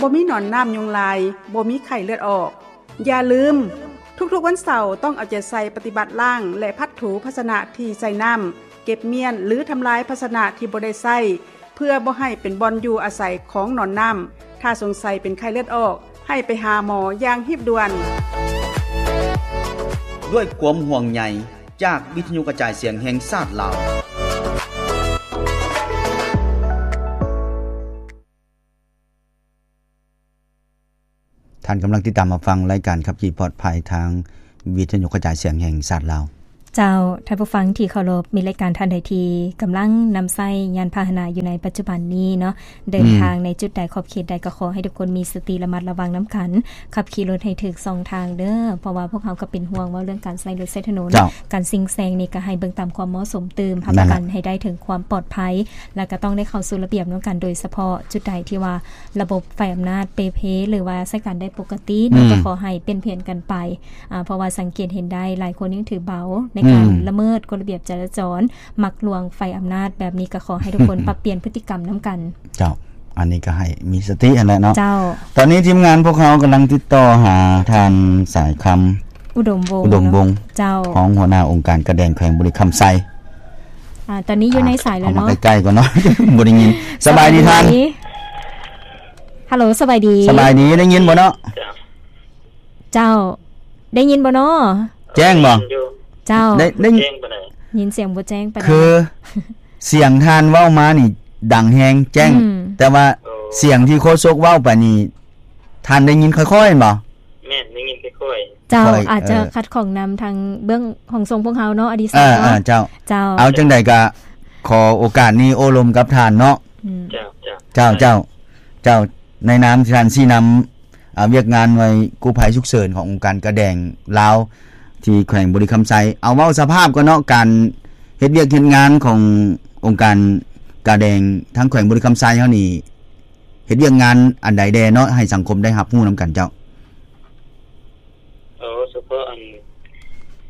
ບໍ່ມີໜອນນ້ຳຍຸງລາຍ, ບໍ່ມີໄຂ້ເລືອດອອກ. ຢ່າລືມ, ທຸກໆວັນເສົາຕ້ອງເອົາໃຈໃສ່ປະຕິບັດລ້າງ ແລະ ພັດຖູພາຊະນະທີ່ໃສ່ນ້ຳ, ເກັບມ້ຽນ ຫຼື ທຳລາຍພາຊະນະທີ່ບໍ່ໄດ້ໃຊ້ ເພື່ອບໍ່ໃຫ້ເປັນບ່ອນຢູ່ອາໄສຂອງໜອນນ້ຳ. ຖ້າສົງໄສເປັນໄຂ້ເລືອດອອກ, ໃຫ້ໄປຫາໝໍຢ່າງຮີບດ່ວນ. ດ້ວຍຄວາມຫ່ວງໃຍຈາກວິທະຍຸກະຈາຍສຽງແຫ່ງຊາດລາວ. ທ່ານກຳລັງຕິດຕາມຮັບຟັງລາຍການຂັບຂີ່ປອດໄພທາງວິທະຍຸກະຈາຍສຽງແຫ່ງຊາດລາວ. ເຈົ້າ, ທ່ານຜູ້ຟັງທີ່ເຄົາລົບ, ມີລາຍການທ່ານໃດທີ່ກຳລັງນຳໃຊ້ຍານພາຫະນະຢູ່ໃນປັດຈຸບັນນີ້ເນາະ, ເດີນທາງໃນຈຸດໃດ ອືມ ຂອບເຂດໃດ ກໍຂໍໃຫ້ທຸກຄົນມີສະຕິລະມັດລະວັງນຳກັນ, ຂັບຂີ່ລົດໃຫ້ຖືກຊ່ອງທາງເດີ້, ເພາະວ່າພວກເຮົາກໍເປັນຫ່ວງເວົ້າເລື່ອງການໃຊ້ລົດໃຊ້ຖະໜົນ. ເຈົ້າ. ການຊິງແຊງນີ້ກໍໃຫ້ເບິ່ງຕາມຄວາມເໝາະສົມຕື່ມ, ຮັບປະກັນໃຫ້ໄດ້ເຖິງຄວາມປອດໄພ, ແລ້ວກໍຕ້ອງໄດ້ເຂົ້າສູ່ລະບຽບນຳກັນ, ໂດຍສະເພາະຈຸດໃດທີ່ວ່າ ລະບົບໄຟອຳນາດເປ່ເພ ຫຼືວ່າໃຊ້ການໄດ້ປົກກະຕິເນາະ, ອືມ ກໍຂໍໃຫ້ປ່ຽນແຜນກັນໄປ, ອາ ເພາະວ່າສັງເກດເຫັນໄດ້ຫຼາຍຄົນຍັງຖືເບົາໃນການ ອືມ ລະເມີດກົດລະບຽບຈະລາຈອນ, ມັກລ່ວງໄຟອຳນາດແບບນີ້, ກໍຂໍໃຫ້ທຸກຄົນປັບປ່ຽນພຶດຕິກຳນຳກັນ. ເຈົ້າ, ອັນນີ້ກໍໃຫ້ມີສະຕິຫັ້ນແຫຼະເນາະ. ເຈົ້າ. ຕອນນີ້ທີມງານພວກເຮົາກຳລັງຕິດຕໍ່ຫາທ່ານສາຍຄຳ ອຸດົມວົງ ອຸດົມວົງ ເນາະ. ເຈົ້າ. ຮອງຫົວໜ້າອົງການກາແດງແຂວງບໍລິຄຳໄຊ. ອາ ຕອນນີ້ຢູ່ໃນສາຍແລ້ວເນາະ. ເຂົ້າມາໃກ້ໆກ່ອນເນາະ, ບໍ່ໄດ້ຍິນ. ສະບາຍດີທ່ານ. ສະບາຍດີ. ຮັລໂຫຼ ສະບາຍດີ. ສະບາຍດີ, ໄດ້ຍິນບໍ່ເນາະ? ເຈົ້າ. ໄດ້ຍິນບໍ່ເນາະ? ແຈ້ງບໍ່? ເຈົ້າ. ໄດ້ ໄດ້ ແຈ້ງປານໃດ? ຍິນສຽງບໍ່ແຈ້ງປານໃດ. ຄືສຽງທ່ານເວົ້າມານີ້ດັງແຮງແຈ້ງ, ອືມ ແຕ່ວ່າ ໂອ້ ສຽງທີ່ໂຄສົກເວົ້າໄປນີ້ ທ່ານໄດ້ຍິນຄ່ອຍໆແມ່ນບໍ່? ແມ່ນ, ໄດ້ຍິນຄ່ອຍໆ. ເຈົ້າ, ຄ່ອຍ ອາດຈະ ເອີ ຂັດຂ້ອງນຳທາງເບື້ອງຫ້ອງສົ່ງພວກເຮົາເນາະ ອະດີສັກເນາະ. ເອີ ເຈົ້າ. ເຈົ້າ. ເອົາ ຈັ່ງໃດກໍຂໍໂອກາດນີ້ໂອ້ລົມກັບທ່ານເນາະ. ອືມ. ເຈົ້າ, ເຈົ້າ. ເຈົ້າ, ເຈົ້າ. ເຈົ້າ. ໃນນາມທີ່ທ່ານຊີ້ນຳ ອາ ວຽກງານໜ່ວຍກູ້ໄພສຸກເສີນຂອງອົງການກາແດງລາວ ທີ່ແຂວງບໍລິຄຳໄຊ. ເອົາ ເວົ້າສະພາບກ່ອນເນາະ, ການເຮັດວຽກເຮັດງານຂອງອົງການກາແດງທາງແຂວງບໍລິຄຳໄຊເຮົານີ້ ເຮັດວຽກງານອັນໃດແດ່ເນາະ ໃຫ້ສັງຄົມໄດ້ຮັບຮູ້ນຳກັນເຈົ້າ? ເອີ ສະເພາະອັນ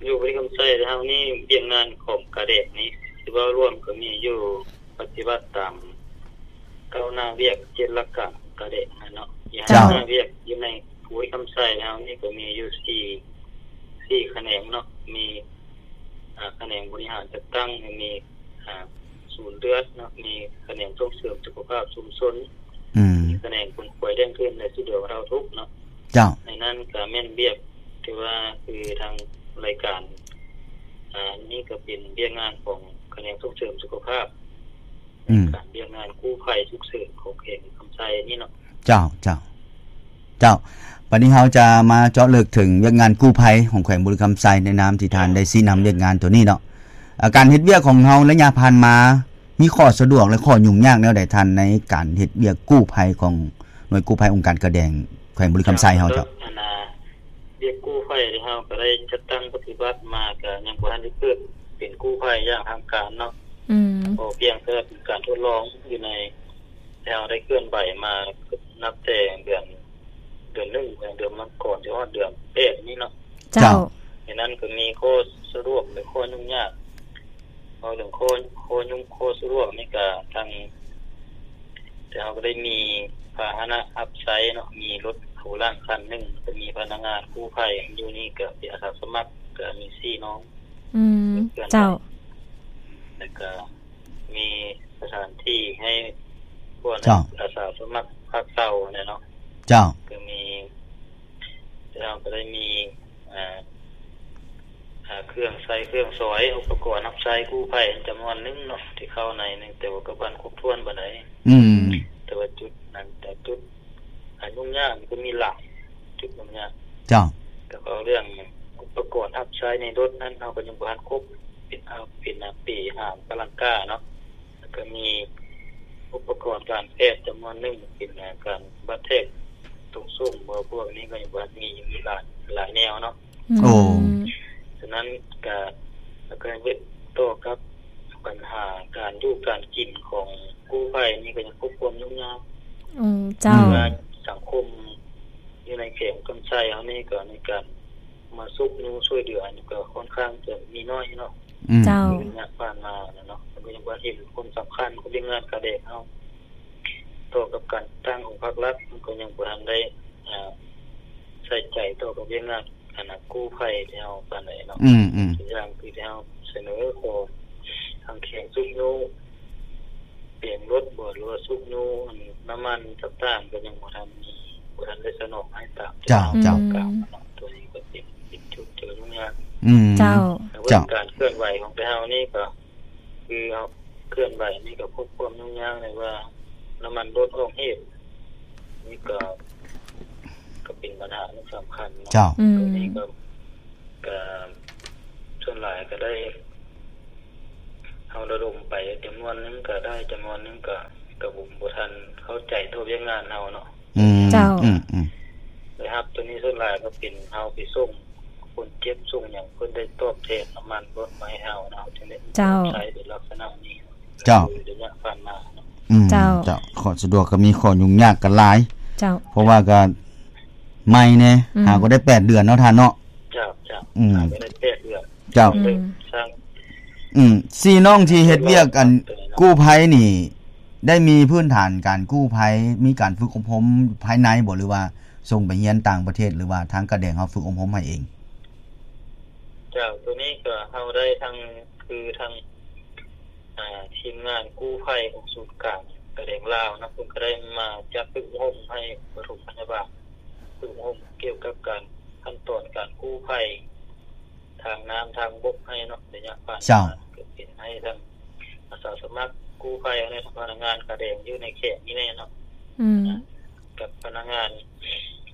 ຢູ່ບໍລິຄຳໄຊເຮົານີ້ ວຽກງານຂອງກາແດງນີ້ ຊິເວົ້າລວມກໍມີຢູ່ ປະຕິບັດຕາມເກົ້າໜ້າວຽກ ເຈັດຫຼັກການກາແດງຫັ້ນເນາະ. ເຈົ້າ. ໜ້າວຽກຢູ່ໃນບໍລິຄຳໄຊເຮົານີ້ກໍມີຢູ່ສີ່ ສີ່ຂະແໜງເນາະ, ມີ ອາ ຂະແໜງບໍລິຫານຈັດຕັ້ງ, ມີ ອາ ສູນເລືອດເນາະ, ມີຂະແໜງສົ່ງເສີມສຸຂະພາບຊຸມຊົນ, ອືມ ມີຂະແໜງຂົນຂວາຍແດງທຶນ ແລະ ຊ່ວຍເຫຼືອບັນເທົາທຸກເນາະ. ເຈົ້າ. ໃນນັ້ນກໍແມ່ນວຽກທີ່ວ່າຄືທາງລາຍການ ອາ ນີ້ກໍເປັນວຽກງານຂອງຂະແໜງສົ່ງເສີມສຸຂະພາບ ອືມ ການວຽກງານກູ້ໄພສຸກເສີນຂອງແຂວງຄຳໄຊນີ້ເນາະ. ເຈົ້າ, ເຈົ້າ, ເຈົ້າ. ບັດນີ້ເຮົາຈະມາເຈາະເລິກເຖິງວຽກງານກູ້ໄພຂອງແຂວງບໍລິຄຳໄຊ ໃນນາມທີ່ທ່ານໄດ້ຊີ້ນຳວຽກງານໂຕນີ້ເນາະ. ອາ ການເຮັດວຽກຂອງເຮົາໄລຍະຜ່ານມາ ມີຂໍ້ສະດວກ ແລະ ຂໍ້ຫຍຸ້ງຍາກແນວໃດທ່ານ ໃນການເຮັດວຽກກູ້ໄພຂອງໜ່ວຍກູ້ໄພອົງການກາແດງແຂວງບໍລິຄຳໄຊເຮົາເຈົ້າ? ອັນນ່າ ວຽກກູ້ໄພທີ່ເຮົາກໍໄດ້ຈັດຕັ້ງປະຕິບັດມາ ກໍຍັງບໍ່ທັນໄດ້ເປີດເປັນກູ້ໄພຢ່າງທາງການເນາະ. ອືມ ກໍພຽງແຕ່ເປັນການທົດລອງຢູ່ໃນ ແຕ່ເຮົາໄດ້ເຄື່ອນໄຫວມານັບແຕ່ເດືອນ ເດືອນໜຶ່ງ ເດືອນມັງກອນ ຊິຮອດເດືອນແປດນີ້ເນາະ. ເຈົ້າ. ເຈົ້າ. ໃນນັ້ນກໍມີຂໍ້ສະດວກ ແລະ ຂໍ້ຫຍຸ້ງຍາກ. ເວົ້າເລື່ອງຂໍ້ ຂໍ້ຫຍຸ້ງ ຂໍ້ສະດວກນີ້ກະທາງ ແຕ່ເຮົາກໍໄດ້ມີພາຫະນະຮັບໃຊ້ເນາະ, ມີລົດໂພລາງຄັນໜຶ່ງ, ກໍມີພະນັກງານກູ້ໄພຢູ່ນີ້ ກໍເປັນອາສາສະໝັກ, ກໍມີສີ່ນ້ອງ. ອືມ ເຈົ້າ. ແລ້ວກໍມີສະຖານທີ່ໃຫ້ພວກ ເຈົ້າ ອາສາສະໝັກພັກເຊົາແນ່ເນາະ. ເຈົ້າ. ກໍມີ ແລ້ວກໍໄດ້ມີ ອ່າ ອ່າ ເຄື່ອງໃຊ້ເຄື່ອງສອຍ ອຸປະກອນຮັບໃຊ້ກູ້ໄພຈຳນວນໜຶ່ງເນາະ ທີ່ເຂົ້າໃນ ແຕ່ວ່າກໍບໍ່ທັນຄົບຖ້ວນປານໃດ. ອືມ ແຕ່ວ່າຈຸດນັ້ນ ແຕ່ຈຸດ ອ່າ ຫຍຸ້ງຍາກມັນກໍມີຫຼາຍຈຸດຫຍຸ້ງຍາກ. ເຈົ້າ. ແລ້ວກໍເລື່ອງອຸປະກອນຮັບໃຊ້ໃນລົດນັ້ນ ເຮົາກໍຍັງບໍ່ທັນຄົບ ເປັນ ເອົາ ເປັນ ອ່າ ເປຫາມກະລັງກາເນາະ. ແລ້ວກໍມີອຸປະກອນການແພດຈຳນວນໜຶ່ງ ເປັນ ອ່າ ການບາດແທກຕົງສົ້ມ ບໍ່ ພວກນີ້ກໍຍັງບໍ່ມີ ມີຫຼາຍ ຫຼາຍແນວເນາະ. ອືມ ໂອ້ ສະນັ້ນກະ ແລ້ວກໍເຮັດຕໍ່ກັບບັນຫາການຢູ່ການກິນຂອງກູ້ໄພນີ້ ກໍຍັງພົບຄວາມຫຍຸ້ງຍາກ. ອືມ ເຈົ້າ. ວ່າສັງຄົມຢູ່ໃນແຂວງຄຳໄຊເຮົານີ້ ກໍໃນການມາຊຸກຍູ້ຊ່ວຍເຫຼືອ ອັນນີ້ກໍຄ່ອນຂ້າງຈະມີໜ້ອຍເນາະ. ອືມ ເຈົ້າ. ໃນໄລຍະຜ່ານມານະເນາະ ກໍຍັງບໍ່ເຫັນຄວາມສຳຄັນຂອງວຽກງານກາແດງເຮົາ. ຕ ຕໍ່ກັບການຈັດຕັ້ງຂອງພາກລັດ ມັນກໍຍັງບໍ່ທັນໄດ້ ອ່າ ໃສ່ໃຈຕໍ່ກັບວຽກງານ ອັນນ່າ ກູ້ໄພແຖວປານໃດເນາະ. ອືມໆ ຕົວຢ່າງຄືແຖວສະເໜີຂໍທາງແຂວງຊຸກຍູ້ ເປັນລົດບໍ ຫຼືວ່າຊຸກຍູ້ ອັນ ນ້ຳມັນຕ່າງໆ ກໍຍັງບໍ່ທັນມີ ບໍ່ທັນໄດ້ສະໜອງໃຫ້ຕາມ ເຈົ້າ ທີ່ ເຈົ້າ ຕ້ອງການເນາະ. ຕົວນີ້ກໍເປັນ ເປັນຈຸດທີ່ຫຍຸ້ງຍາກ. ອືມ ເຈົ້າ ແລ້ວ ເຈົ້າ ການເຄື່ອນໄຫວຂອງພວກເຮົານີ້ກໍ ຄືເຮົາເຄື່ອນໄຫວນີ້ກໍພົບຄວາມຫຍຸ້ງຍາກໃນວ່າ ນ້ຳມັນລົດອອກເຫດ ນີ້ກໍ ກໍເປັນບັນຫາທີ່ສຳຄັນເນາະ. ເຈົ້າ ອືມ ຕົວນີ້ກໍ ກໍສ່ວນຫຼາຍກໍໄດ້ ເຮົາລະດົມໄປຈຳນວນໜຶ່ງກໍໄດ້ ຈຳນວນໜຶ່ງກໍ ກໍບໍ່ ບໍ່ທັນເຂົ້າໃຈຕໍ່ວຽກງານເຮົາເນາະ. ອືມ ເຈົ້າ ອືມໆ ໄດ້ຮັບຕົວນີ້ສ່ວນຫຼາຍກໍເປັນເຮົາໄປສົ່ງຄົນເຈັບ ສົ່ງຫຍັງ ເພິ່ນໄດ້ຕອບແທນນ້ຳມັນລົດມາໃຫ້ເຮົາເນາະ ເຮົາຈຶ່ງໄດ້ ເຈົ້າ ໃຊ້ເປັນລັກສະນະນີ້. ເຈົ້າ ໃນໄລຍະຜ່ານມາເນາະ. ອືມ ເຈົ້າ ເຈົ້າ ຂໍ້ສະດວກກໍມີ ຂໍ້ຫຍຸ້ງຍາກກໍຫຼາຍ. ເຈົ້າ ເພາະວ່າກໍໃໝ່ແດ່ ອືມ ຫາກໍໄດ້ແປດເດືອນເນາະທ່ານເນາະ. ເຈົ້າ ເຈົ້າ ອືມ ຫາກໍໄດ້ແປດເດືອນ. ເຈົ້າ ອືມ ອືມ ສີ່ນ້ອງທີ່ເຮັດວຽກ ອັນ ກູ້ໄພນີ້ ໄດ້ມີພື້ນຖານການກູ້ໄພ ມີການຝຶກອົບຮົມພາຍໃນບໍ່ ຫຼືວ່າສົ່ງໄປຮຽນຕ່າງປະເທດ ຫຼືວ່າທາງກາແດງເຮົາຝຶກອົບຮົມໃຫ້ເອງ? ເຈົ້າ ຕົວນີ້ກໍເຮົາໄດ້ທັງ ຄືທັງ ອ່າ ທີມງານກູ້ໄພຂອງສູນກາງກາແດງລາວເນາະ ເພິ່ນກໍໄດ້ມາຈັດຝຶກອົບຮົມໃຫ້ປະຖົມພະຍາບານ ຝຶກອົບຮົມກ່ຽວກັບການ ຂັ້ນຕອນການກູ້ໄພ ທາງນ້ຳທາງບົກໃຫ້ເນາະ ໄລຍະຜ່ານມາ. ເຈົ້າ ກໍເປັນໃຫ້ທັງອາສາສະໝັກກູ້ໄພ ແລະ ພະນັກງານກາແດງຢູ່ໃນແຂວງນີ້ແນ່ເນາະ. ອືມ ກັບພະນັກງານ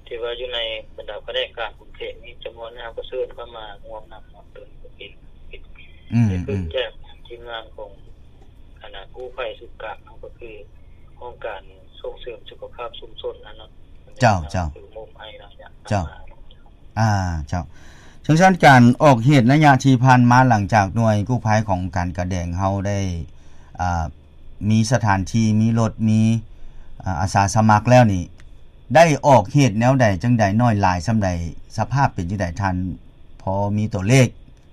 ທີ່ວ່າຢູ່ໃນບັນດາພະແນກການຂອງແຂວງນີ້ ຈຳນວນໜຶ່ງເຮົາກໍເຊີນເຂົ້າມາຮ່ວມນຳເນາະ. ຕົວນີ້ກໍເປັນ ເປັນ ອືມ ເປັນ ອືມ ແຈ້ງທາງທີມງານຂອງ ອັນນ່າ ກູ້ໄພສູນກາງເຮົາ ກໍຄືຫ້ອງການສົ່ງເສີມສຸຂະພາບຊຸມຊົນຫັ້ນເນາະ. ເຈົ້າ ເຈົ້າ ເຈົ້າ ອ່າ ເຈົ້າ. ຈັ່ງຊັ້ນ ການອອກເຫດໄລຍະທີ່ຜ່ານມາ ຫຼັງຈາກໜ່ວຍກູ້ໄພຂອງການກາແດງເຮົາໄດ້ ອ່າ ມີສະຖານທີ່ ມີລົດ ມີ ອ່າ ອາສາສະໝັກແລ້ວນີ້ ໄດ້ອອກເຫດແນວໃດ ຈັ່ງໃດ ໜ້ອຍຫຼາຍສ່ຳໃດ ສະພາບເປັນຈັ່ງໃດ ທ່ານພໍມີຕົວເລກ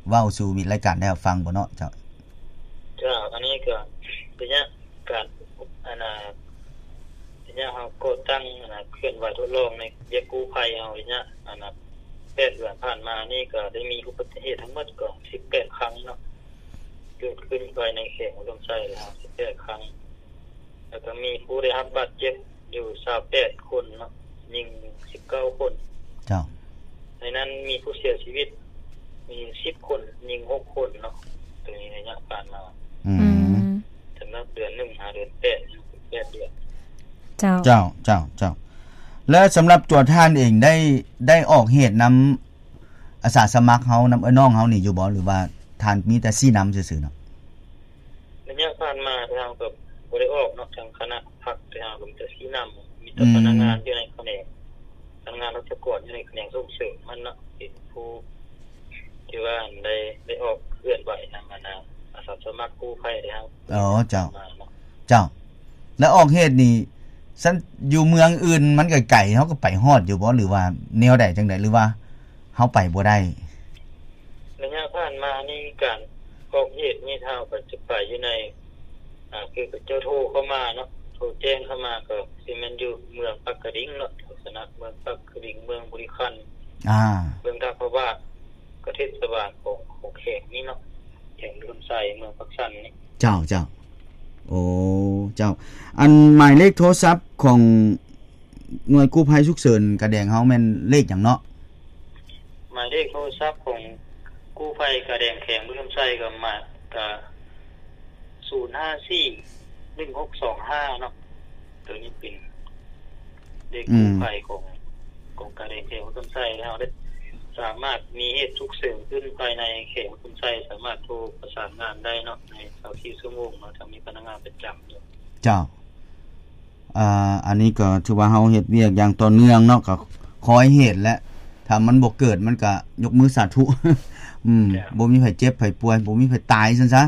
ເວົ້າສູ່ມິດລາຍການໄດ້ຮັບຟັງບໍ່ເນາະ? ເຈົ້າ ເຈົ້າ ອັນນີ້ກໍໄລຍະການ ອັນນ່າ ໄລຍະເຮົາກໍ່ຕັ້ງ ອັນນ່າ ເຄື່ອນໄຫວທົດລອງໃນວຽກກູ້ໄພເຮົາ ໄລຍະ ອັນນ່າ ແປດເດືອນຜ່ານມານີ້ ກໍໄດ້ມີອຸບັດຕິເຫດທັງໝົດກໍສິບແປດຄັ້ງເນາະ ເກີດຂຶ້ນພາຍໃນແຂວງອຸດົມໄຊເຮົາ ສິບແປດຄັ້ງ ແລ້ວກໍມີຜູ້ໄດ້ຮັບບາດເຈັບ ຢູ່ຊາວແປດຄົນເນາະ ຍິງສິບເກົ້າຄົນ. ເຈົ້າ. ໃນນັ້ນມີຜູ້ເສຍຊີວິດມີສິບຄົນ ຍິງຫົກຄົນເນາະ ໂດຍໄລຍະຜ່ານມາ. ອືມ ອືມ ສຳລັບເດືອນໜຶ່ງຫາເດືອນແປດ ແປດເດືອນ. ເຈົ້າ ເຈົ້າ ເຈົ້າ ເຈົ້າ. ແລະ ສຳລັບຕົວທ່ານເອງໄດ້ ໄດ້ອອກເຫດນຳອາສາສະໝັກເຮົາ ນຳເອື້ອຍນ້ອງເຮົານີ້ຢູ່ບໍ່ ຫຼືວ່າທ່ານມີແຕ່ຊີ້ນຳຊື່ໆເນາະ? ໄລຍະຜ່ານມາທີ່ເຮົາກໍບໍ່ໄດ້ອອກເນາະ ທາງຄະນະພັກທີ່ເຮົາກໍມີແຕ່ຊີ້ນຳ ມີແຕ່ ອືມ ພະນັກງານຢູ່ໃນຂະແໜງ ພະນັກງານລັດຖະກອນຢູ່ໃນຂະແໜງສົ່ງເສີມມັນເນາະ ເປັນຜູ້ທີ່ວ່າໄດ້ ໄດ້ອອກເຄື່ອນໄຫວນຳ ອັນນ່າ ອາສາສະໝັກກູ້ໄພທີ່ເຮົາ ອໍ ເຈົ້າ ເຈົ້າ. ແລ້ວອອກເຫດນີ້ ຊັ້ນ ຢູ່ເມືອງອື່ນມັນໄກໆ ເຮົາກໍໄປຮອດຢູ່ບໍ່ ຫຼືວ່າແນວໃດຈັ່ງໃດ ຫຼືວ່າ ເຮົາໄປບໍ່ໄດ້? ໄລຍະຜ່ານມານີ້ ການອອກເຫດນີ້ ຖ້າເຮົາໄປ ຈະໄປຢູ່ໃນ ອ່າ ຄືເຂົາເຈົ້າໂທເຂົ້າມາເນາະ ໂທແຈ້ງເຂົ້າມາ ກໍຊິແມ່ນຢູ່ເມືອງປາກກະດິງເນາະ ລັກສະນະເມືອງປາກກະດິງ ເມືອງບໍລິຄັນ ອ່າ ເມືອງທ່າພະບາດ ກໍເທດສະບານຂອງ ຂອງແຂວງນີ້ເນາະ ແຂວງອຸດົມໄຊ ເມືອງປາກຊັນນີ້. ເຈົ້າ ເຈົ້າ. ໂອ້ ເຈົ້າ. ອັນໝາຍເລກໂທລະສັບຂອງໜ່ວຍກູ້ໄພສຸກເສີນກາແດງເຮົາແມ່ນເລກຫຍັງເນາະ? ໝາຍເລກໂທລະສັບຂອງກູ້ໄພກາແດງແຂວງອຸດົມໄຊກໍມາ ກະ ສູນຫ້າສີ່ ໜຶ່ງຫົກສອງຫ້າເນາະ. ໂຕນີ້ເປັນເລກ ອືມ ກູ້ໄພຂອງ ຂອງກາແດງແຂວງອຸດົມໄຊ ແລ້ວເຮົາໄດ້ສາມາດມີເຫດສຸກເສີນຂຶ້ນພາຍໃນແຂວງອຸດົມໄຊ ສາມາດໂທປະສານງານໄດ້ເນາະ ໃນຊາວສີ່ຊົ່ວໂມງເນາະ ຈະມີພະນັກງານປະຈຳຢູ່. ເຈົ້າ. ອ່າ ອັນນີ້ກໍຖືວ່າເຮົາເຮັດວຽກຢ່າງຕໍ່ເນື່ອງເນາະ ກໍຄອຍເຮັດແຫຼະ ຖ້າມັນບໍ່ເກີດ ມັນກໍຍົກມືສາທຸ ອືມ ເຈົ້າ ບໍ່ມີໃຜເຈັບໃຜປ່ວຍ ບໍ່ມີໃຜຕາຍຊັ້ນຊະ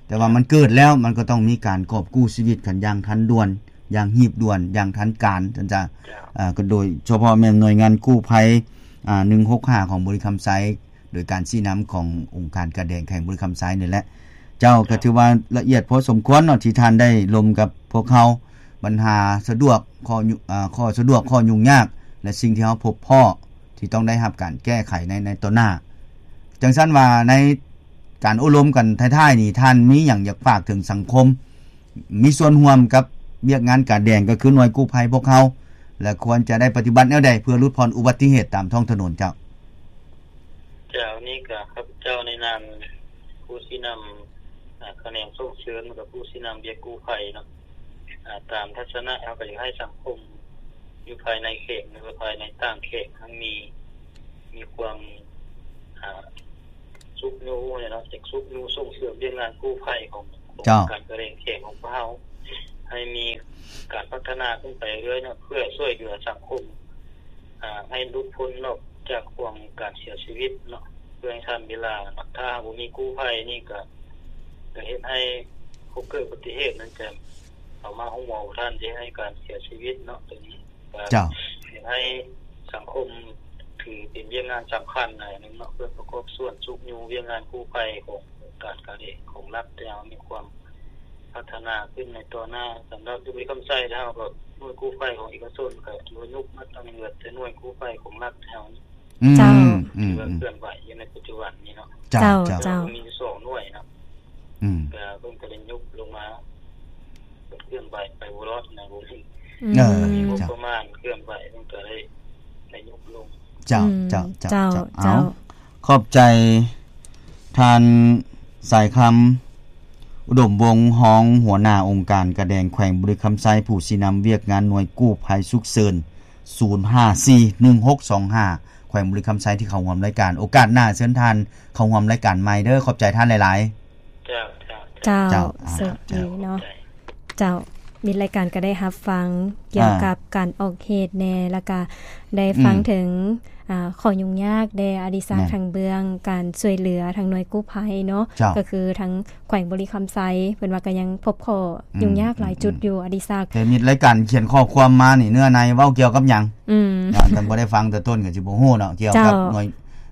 ແຕ່ວ່າ ເຈົ້າ ມັນເກີດແລ້ວ ມັນກໍຕ້ອງມີການກອບກູ້ຊີວິດກັນຢ່າງທັນດ່ວນ ຢ່າງຮີບດ່ວນ ຢ່າງທັນການຊັ້ນຊະ ເຈົ້າ ອ່າ ກໍໂດຍສະເພາະແມ່ນໜ່ວຍງານກູ້ໄພ ອ່າ ໜຶ່ງຫົກຫ້າ ຂອງບໍລິຄຳໄຊ ໂດຍການຊີ້ນຳຂອງອົງການກາແດງແຂວງບໍລິຄຳໄຊນີ້ແຫຼະ ເຈົ້າ ເຈົ້າ ກໍຖືວ່າລະອຽດພໍສົມຄວນເນາະ ທີ່ທ່ານໄດ້ລົມກັບພວກເຮົາ ບັນຫາສະດວກ ຂໍ້ຫຍຸ້ງ ເອີ ຂໍ້ສະດວກ ຂໍ້ຫຍຸ້ງຍາກ ແລະ ສິ່ງທີ່ເຮົາພົບພໍ້ທີ່ຕ້ອງໄດ້ຮັບການແກ້ໄຂໃນ ໃນຕໍ່ໜ້າ. ຈັ່ງຊັ້ນວ່າໃນການໂອ້ລົມກັນທ້າຍໆນີ້ ທ່ານມີຫຍັງຢາກຝາກເຖິງສັງຄົມ ມີສ່ວນຮ່ວມກັບວຽກງານກາແດງ ກໍຄືໜ່ວຍກູ້ໄພພວກເຮົາ ແລະ ຄວນຈະໄດ້ປະຕິບັດແນວໃດ ເພື່ອຫຼຸດຜ່ອນອຸບັດຕິເຫດຕາມທ້ອງຖະໜົນເຈົ້າ? ເຈົ້າ ນີ້ກໍຂ້າພະເຈົ້າໃນນາມຜູ້ຊີ້ນຳ ອາ ຂະແໜງສົ່ງເສີມ ແລະ ກໍຜູ້ຊີ້ນຳວຽກກູ້ໄພເນາະ ອາ ຕາມທັດສະນະ ເຮົາກໍຢາກໃຫ້ສັງຄົມຢູ່ພາຍໃນແຂວງ ຫຼືວ່າພາຍໃນຕ່າງແຂວງ ໃຫ້ມີ ມີຄວາມ ອາ ຊຸກຍູ້ເນາະ ຈະຊຸກຍູ້ສົ່ງເສີມວຽກງານກູ້ໄພຂອງ ຂອງ ເຈົ້າ ການກະແດງແຂວງຂອງພວກເຮົາ ໃຫ້ມີການພັດທະນາຂຶ້ນໄປເລື້ອຍເນາະ ເພື່ອຊ່ວຍເຫຼືອສັງຄົມ ອາ ໃຫ້ຫຼຸດພົ້ນນອກຈາກຄວາມການເສຍຊີວິດເນາະ ເພື່ອໃຫ້ທັນເວລາເນາະ. ຖ້າຫາກບໍ່ມີກູ້ໄພນີ້ກໍ ກໍເຮັດໃຫ້ຜູ້ເກີດອຸບັດຕິເຫດນັ້ນຈະເຂົ້າມາໂຮງໝໍບໍ່ທັນ ຈະເຮັດໃຫ້ການເສຍຊີວິດເນາະ. ຕົວນີ້ກໍ ເຈົ້າ ເຮັດໃຫ້ສັງຄົມຖືເປັນວຽກງານສຳຄັນອັນໜຶ່ງເນາະ ເພື່ອປະກອບສ່ວນຊຸກຍູ້ວຽກງານກູ້ໄພຂອງອົງການການເອກຂອງລັດ ແຕ່ເຮົາມີຄວາມ ພັດທະນາຂຶ້ນໃນຕໍ່ໜ້າ. ສຳລັບຢູ່ບໍລິຄຳໄຊແລ້ວ ເຮົາກໍໜ່ວຍກູ້ໄພຂອງເອກະຊົນກໍຖືວ່າຍຸບໝົດທັງໝົດ ແຕ່ໜ່ວຍກູ້ໄພຂອງລັດເຮົານີ້ ອືມ ເຈົ້າ ອືມ ຖືວ່າເຄື່ອນໄຫວຢູ່ໃນປັດຈຸບັນນີ້ເນາະ. ເຈົ້າ ເຈົ້າ ເຈົ້າ ເຈົ້າ ມີຢູ່ສອງໜ່ວຍເນາະ ອືມ ກໍເພິ່ນກໍໄດ້ຍຸບລົງມາ ເຄື່ອນໄຫວໄປບໍ່ລອດນະ ບໍ່ມີ ອືມ ເອີ ມີງົບປະມານເຄື່ອນໄຫວ ເພິ່ນກໍໄດ້ ໄດ້ຍຸບລົງ. ເຈົ້າ ອືມ ເຈົ້າ ເຈົ້າ ເຈົ້າ ເຈົ້າ ເຈົ້າ ເອົາ ຂອບໃຈທ່ານ ສາຍຄຳ ອຸດົມວົງ ຮອງຫົວໜ້າອົງການກາແດງແຂວງບໍລິຄຳໄຊ ຜູ້ຊີ້ນຳວຽກງານໜ່ວຍກູ້ໄພສຸກເສີນ ສູນຫ້າສີ່ໜຶ່ງຫົກສອງຫ້າ ແຂວງບໍລິຄຳໄຊ ທີ່ເຂົ້າຮ່ວມລາຍການ. ໂອກາດໜ້າເຊີນທ່ານເຂົ້າຮ່ວມລາຍການໃໝ່ເດີ. ຂອບໃຈທ່ານຫຼາຍໆ. ເຈົ້າ ເຈົ້າ ເຈົ້າ ເຈົ້າ ເຈົ້າ ເຈົ້າ ເຈົ້າ ມິດລາຍການກໍໄດ້ຮັບຟັງກ່ຽວກັບ ອ່າ ການອອກເຫດແດ່ ແລ້ວກະໄດ້ຟັງ ອືມ ເຖິງ ອ່າ ຂໍ້ຫຍຸ້ງຍາກແດ່ ອະດິສັກ ແມ່ນ ທາງເບື້ອງການຊ່ວຍເຫຼືອທາງໜ່ວຍກູ້ໄພເນາະ ເຈົ້າ ກໍຄືທາງແຂວງບໍລິຄຳໄຊ ເພິ່ນວ່າກໍຍັງພົບຂໍ້ຫຍຸ້ງຍາກ ອືມ ຫຼາຍຈຸດຢູ່ ອືມ ອະດິສັກ. ແຕ່ມິດລາຍການຂຽນຂໍ້ຄວາມມານີ້ ເນື້ອໃນເວົ້າກ່ຽວກັບຫຍັງ? ອືມ ຖ້າທ່ານບໍ່ໄດ້ຟັງແຕ່ຕົ້ນກໍຊິບໍ່ຮູ້ເນາະ ກ່ຽວກັບ ເຈົ້າ ໜ່ວຍ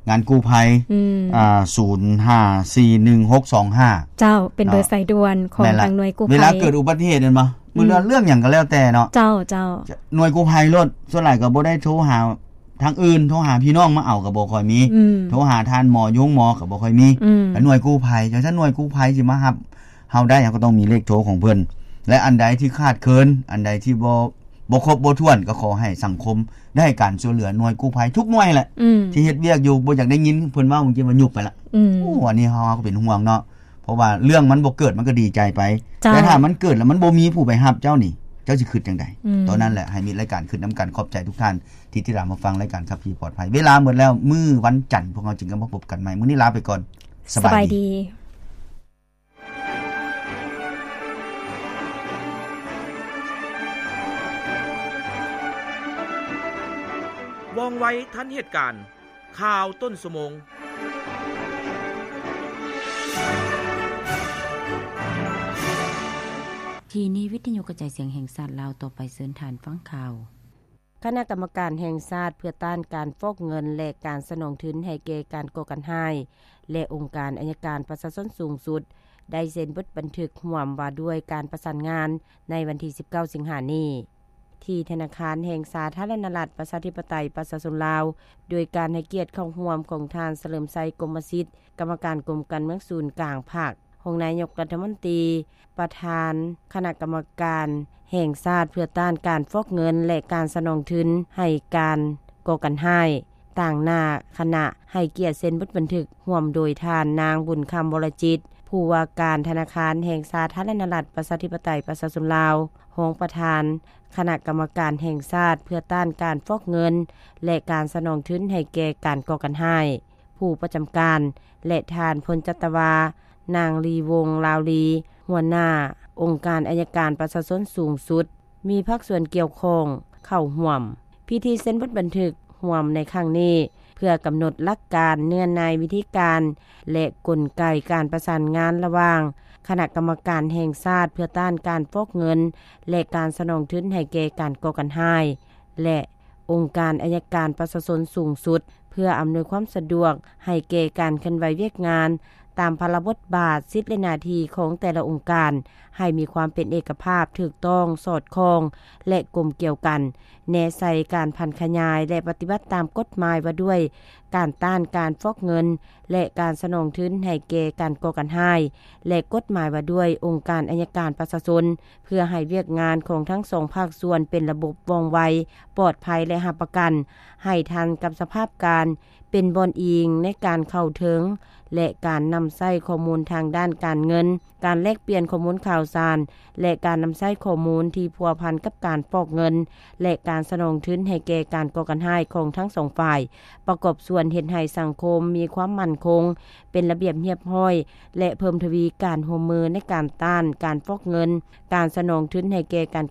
ງານກູ້ໄພ ອືມ ອ່າ ສູນຫ້າສີ່ໜຶ່ງຫົກສອງຫ້າ ເຈົ້າ ເປັນເບີ ເນາະ ສາຍດ່ວນຂອງ ແມ່ນລະ ທາງໜ່ວຍກູ້ໄພ. ເວລາເກີດອຸບັດຕິເຫດແມ່ນບໍ່? ອືມ ເລື່ອງ ເລື່ອງຫຍັງກໍແລ້ວແຕ່ເນາະ ເຈົ້າ ເຈົ້າ ໜ່ວຍກູ້ໄພໂລດ ສ່ວນຫຼາຍກໍບໍ່ໄດ້ໂທຫາທາງອື່ນ ໂທຫາພີ່ນ້ອງມາເອົາກໍບໍ່ຄ່ອຍມີ ອືມ ໂທຫາທ່ານໝໍຢູ່ໂຮງໝໍກໍບໍ່ຄ່ອຍມີ ອືມ ແຕ່ໜ່ວຍກູ້ໄພ ຈັ່ງຊັ້ນໜ່ວຍກູ້ໄພຊິມາຮັບເຮົາໄດ້ ເຮົາກໍຕ້ອງມີເລກໂທຂອງເພິ່ນ ແລະ ອັນໃດທີ່ຂາດເຂີນ ອັນໃດທີ່ບໍ່ ບໍ່ຄົບບໍ່ຖ້ວນ ກໍຂໍໃຫ້ສັງຄົມໄດ້ໃຫ້ການຊ່ວຍເຫຼືອໜ່ວຍກູ້ໄພທຸກໜ່ວຍແຫຼະ ອືມ ທີ່ເຮັດວຽກຢູ່ ບໍ່ຢາກໄດ້ຍິນເພິ່ນເວົ້າ ເມື່ອກີ້ວ່າຍຸບໄປລະ ອືມ ໂອ້ ອັນນີ້ເຮົາ ເຮົາກໍເປັນຫ່ວງເນາະ ເພາະວ່າເລື່ອງມັນບໍ່ເກີດ ມັນກໍດີໃຈໄປ ເຈົ້າ ແຕ່ຖ້າມັນເກີດແລ້ວມັນບໍ່ມີຜູ້ໄປຮັບເຈົ້ານີ້ ເຈົ້າຊິຄິດຈັ່ງໃດ? ອືມ ຕອນນັ້ນແຫຼະ ໃຫ້ມິດລາຍການຄິດນຳກັນ. ຂອບໃຈທຸກທ່ານທີ່ຕິດຕາມຮັບຟັງລາຍການຂັບຂີ່ປອດໄພ. ເວລາໝົດແລ້ວ ມື້ວັນຈັນພວກເຮົາຈຶ່ງກັນມາພົບກັນໃໝ່. ມື້ນີ້ລາໄປກ່ອນ ສະບາຍດີ ສະບາຍດີ. ວ່ອງໄວທັນເຫດການ ຂ່າວຕົ້ນຊົ່ວໂມງ. ທີ່ນີ້ວິທະຍຸກະຈາຍສຽງແຫ່ງຊາດລາວ, ຕໍ່ໄປເຊີນທ່ານຟັງຂ່າວ. ຄະນະກຳມະການແຫ່ງຊາດເພື່ອຕ້ານການຟອກເງິນ ແລະ ການສະໜອງທຶນໃຫ້ແກ່ການກໍ່ການຮ້າຍ ແລະ ອົງການໄອຍະການປະຊາຊົນສູງສຸດ ໄດ້ເຊັນບົດບັນທຶກຮ່ວມວ່າດ້ວຍການປະສານງານໃນວັນທີສິບເກົ້າ ສິງຫານີ້ ທີ່ທະນາຄານແຫ່ງສາທາລະນະລັດ ປະຊາທິປະໄຕ ປະຊາຊົນລາວ, ໂດຍການໃຫ້ກຽດເຂົ້າຮ່ວມຂອງທ່ານ ສະເຫຼີມໄຊ ກົມມະສິດ ກຳມະການກົມການເມືອງສູນກາງພັກ, ຮອງນາຍົກລັດຖະມົນຕີ, ປະທານຄະນະກຳມະການແຫ່ງຊາດເພື່ອຕ້ານການຟອກເງິນ ແລະ ການສະໜອງທຶນໃຫ້ການກໍ່ການຮ້າຍ, ຕາງໜ້າຄະນະໃຫ້ກຽດເຊັນບົດບັນທຶກຮ່ວມໂດຍທ່ານນາງ ບຸນຄຳ ວໍລະຈິດ ຜູ້ວ່າການທະນາຄານແຫ່ງສາທາລະນະລັດ ປະຊາທິປະໄຕ ປະຊາຊົນລາວ, ຮອງປະທານຄະນະກຳມະການແຫ່ງຊາດເພື່ອຕ້ານການຟອກເງິນ ແລະ ການສະໜອງທຶນໃຫ້ແກ່ການກໍ່ການຮ້າຍ, ຜູ້ປະຈຳການ ແລະ ທ່ານ ພົນຈັດຕະວາ ນາງ ລີວົງ ລາວລີ, ຫົວໜ້າອົງການໄອຍະການປະຊາຊົນສູງສຸດ, ມີພາກສ່ວນກ່ຽວຂ້ອງເຂົ້າຮ່ວມ. ພິທີເຊັນບົດບັນທຶກຮ່ວມໃນຄັ້ງນີ້ ເພື່ອກຳນົດຫຼັກການ, ເນື້ອໃນ, ວິທີການ ແລະ ກົນໄກການປະສານງານລະຫວ່າງຄະນະກຳມະການແຫ່ງຊາດເພື່ອຕ້ານການຟອກເງິນ ແລະ ການສະໜອງທຶນໃຫ້ແກ່ການກໍ່ການຮ້າຍ ແລະ ອົງການໄອຍະການປະຊາຊົນສູງສຸດ ເພື່ອອຳນວຍຄວາມສະດວກໃຫ້ແກ່ການເຄື່ອນໄຫວວຽກງານ ຕາມພາລະບົດບາດ, ສິດ ແລະ ໜ້າທີ່ຂອງແຕ່ລະອົງການ ໃຫ້ມີຄວາມເປັນເອກະພາບ, ຖືກຕ້ອງ, ສອດຄ່ອງ ແລະ ກົມກຽວກັນ, ແນໃສ່ການຜັນຂະຫຍາຍ ແລະ ປະຕິບັດຕາມກົດໝາຍວ່າດ້ວຍການຕ້ານການຟອກເງິນ ແລະ ການສະໜອງທຶນໃຫ້ແກ່ການກໍ່ການຮ້າຍ ແລະ ກົດໝາຍວ່າດ້ວຍອົງການໄອຍະການປະຊາຊົນ, ເພື່ອໃຫ້ວຽກງານຂອງທັງສອງພາກສ່ວນເປັນລະບົບວ່ອງໄວ, ປອດໄພ ແລະ ຮັບປະກັນໃຫ້ທັນກັບສະພາບການ, ເປັນບ່ອນອີງໃນການເຂົ້າເຖິງ ແລະ ການນຳໃຊ້ຂໍ້ມູນທາງດ້ານການເງິນ, ການແລກປ່ຽນຂໍ້ມູນຂ່າວສານ ແລະ ການນຳໃຊ້ຂໍ້ມູນທີ່ພົວພັນກັບການຟອກເງິນ ແລະ ການສະໜອງທຶນໃຫ້ແກ່ການກໍ່ການຮ້າຍຂອງທັງສອງຝ່າຍ, ປະກອບສ່ວນເຮັດໃຫ້ສັງຄົມມີຄວາມໝັ້ນຄົງ, ເປັນລະບຽບຮຽບຮ້ອຍ ແລະ ເພີ່ມທະວີການຮ່ວມມືໃນການຕ້ານການຟອກເງິນ, ການສະໜອງທຶນໃຫ້ແກ່ການ